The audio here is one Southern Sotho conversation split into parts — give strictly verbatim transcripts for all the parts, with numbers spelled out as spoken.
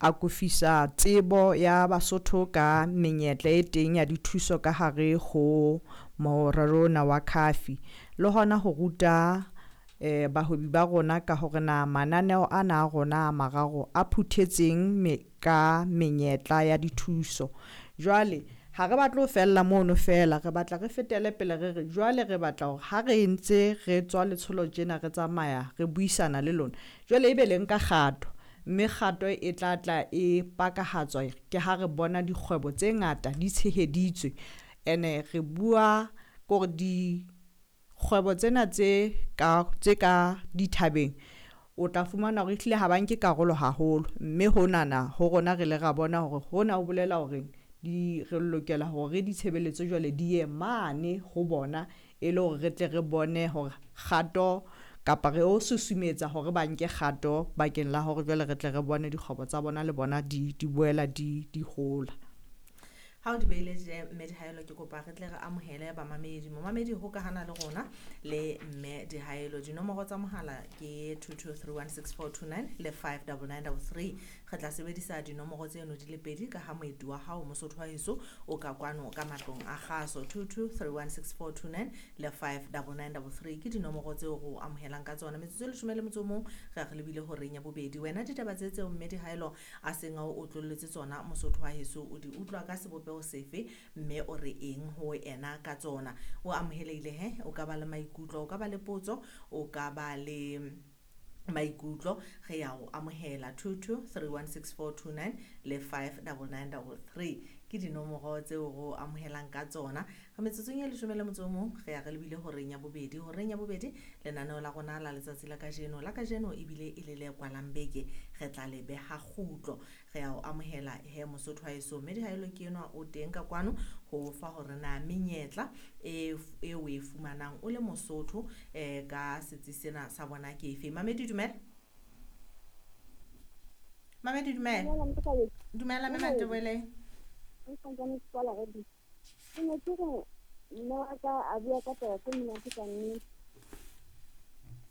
akofisa tsebo ya Basotho ka menyetla e teng ya dithuso ka hare ho morero ona wa C A F I, le hona ho ruta eh bahwebi ba rona ka hore na mananeo ana a rona a mararo a phuthetseng me ka menyetla ya dithuso. Jwale ha re batle ho fella mono fela, re batla re fetele pele. Re re jwale re batla hore ha re ntse re tswa letsholo tjena, re tsamaya re buisana le lona, jwale ebe le nka kgato, mme kgato e tla tla e pakahatswa ke ha re bona dikgwebo tse ngata di tsheheditswe. Ene re bua kore dikgwebo tsena tse ka tse ka dithabeng, o tla fumana hore ehlile ha ba nke karolo haholo, mme honana ho rona re le ra bona hore hona ho bolela hore di re lokela hore ditshebeletso jwale di ye mane ho bona, e le hore re tle re bone hore kgato kapa re o susumetsa hore ba nke kgato bakeng la hore jwale re tle re bone dikgwebo tsa bona le bona di di boela di di hola. Ha o di beile je, mme Dihaelo, ke kopa re tle re amohele bamamedi. Momamedi, hokahana le rona le mme Dihaelo. Dinomoro tsa mohala ke two two three one six four two nine le five nine nine three three. Re tla sebedisa dinomoro tseno di le pedi ka ha moeti wa hao, Mosotho wa heso, o ka kwano ka matlong a kgaso. two two three one six four two nine le five nine nine three three ke dinomoro tseo re o amohelang ka tsona. Metsotso e leshome le motso o mong re re lebile horeng ya bobedi. Wena ditaba tse tseo mme Dihaelo a seng a o otlolletse tsona, Mosotho wa heso, o di utlwa ka sebopeho sefe, mme o re eng ho ena ka tsona? O amohelehile he, o ka ba le maikutlo, o ka ba le potso, o ka ba le maikutlo, re ya o amohela. two two three one six four two nine le five nine nine three three ke dinomoro tseo re o amohelang ka tsona. Re metsotsong e leshome le motso o mong re ya re lebile horeng ya bobedi. Horeng ya bobedi, lenaneo la rona la letsatsi la kajeno la kajeno ebile e le le kwalang beke, re tla le beha kgutlo. Re ya o amohela he, Mosotho wa heso. Mme Dihaelo ke enwa o teng ka kwano ho fa hore na menyetla e e o e fumanang o le Mosotho um ka setsi sena sa bona ke efe. Mamedi, dumela. Mamedi, dumela. Dumela mme Mantebele. Ke ne ke re mme wa ka a bua ka taba tse monate ka nnete.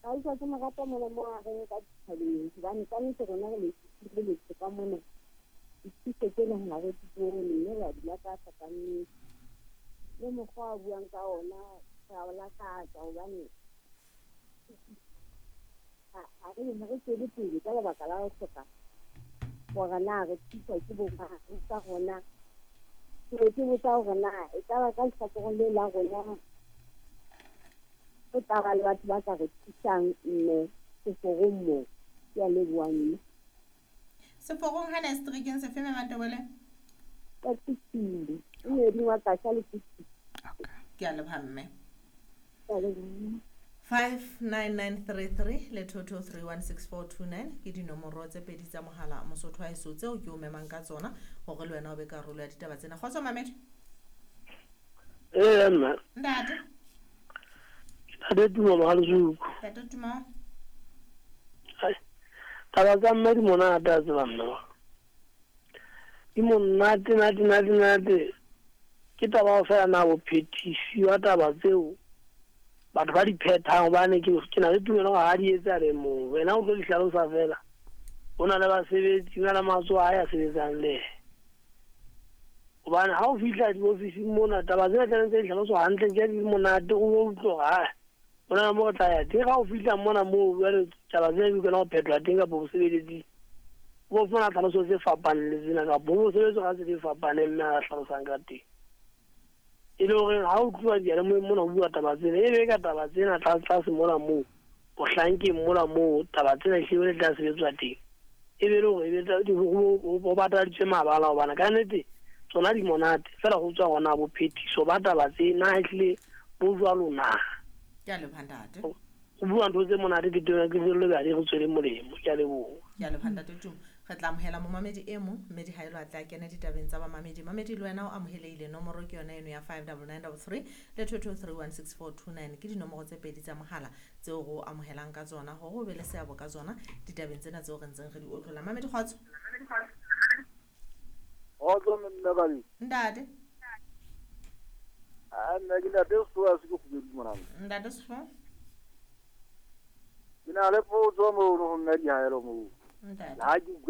Ka utlwa ke mo rata mona mo a reng ka dithabeng, hobane ka nnete rona re le letsho ka mona, dithuso tsena ha re di bone, mme re a di lakatsa ka nnete. Le mokgwa a buang ka ona re a o lakatsa, hobane ha re ha re tswele pele ka lebaka la ho hloka hore na re thuswa ke bo mang. Ka rona ke be ke botsa hore na ekaba ka lehlakoreng le la rona ho tla ba le batho ba ka re thusang, mme seforong moo. Ke a leboha mme. Seforong hana seterekeng sefe, mme Mantebele? Ka Tusile, e moeding wa Kasha le Tusile. Ke a leboha mme. Ke a leboha. five nine nine three three le two two three one six four two nine ke dinomoro tse pedi tsa mohala, Mosotho wa heso, tseo ke o memang ka tsona hore le wena o be karolo ya ditaba tsena. Kgotso mamedi. Ee mme. Ntate. Ntate Tumo Mohalesuku. Ntate Tumo. Taba tsa mme di monate, a tseba mme di monate nate nate nate. Ke taba ho fela na bophethisi wa taba tseo batho ba di phethang, hobane ke ke na le tumelo hore ha di etse a le mong, wena o tlo di hlalosa fela. Ho na le basebetsi, ho na le matsoho a ya sebetsang le yena, hobane ha o fihla diofising mona, taba tsena tlamehetse di hlaloswa hantle tje di monate, o utlwe hore ha ho na le mo re tla ya teng. Ha o fihla mona moo jwale taba tsena di kena ho phethwa teng kapa bosebeletsi, o fumana tlhaloso tse fapaneng le tsena, kapa ho sebetswa ka tsela e fapaneng mme a hlalosang ka teng, e le hore ha o tluwa diyalemoyeng mona ho bua taba tsena, e be ka taba tsena tlase tlase mona moo bohlankeng mona moo taba tsena ehlile le tla sebetswa teng, e be le hore e ho bataditswe mabala, hobane ka nnete tsona di monate fela. Ho tswa hona bophethiso ba taba tsena ehlile bo jwalo na? Ke a leboha ntate. Ho bua ntho tse monate ke teng, ke tswelle bjale re tswele molemo. Ke a leboha. Ke a leboha ntate Tumo. Re tla amohela momamedi e mong, mme Dihaelo a tla kena ditabeng tsa bamamedi. Mamedi, le wena o amohelehile. Nomoro ke yona eno ya five nine nine three three le two two three one six four two nine ke dinomoro tse pedi tsa mohala tseo re o amohelang ka tsona hore o be le seabo ka tsona ditabeng tsena tseo re ntseng re di otlolla. Mamedi, kgotso. Kgotso mme Kabedi. Ntate. A nna ke ntate Sefoa se ke kgubedu monana. Ntate Sefo. Ke na le potso mono ho mme Dihaelo moo. Ntate. Ha ke utlwa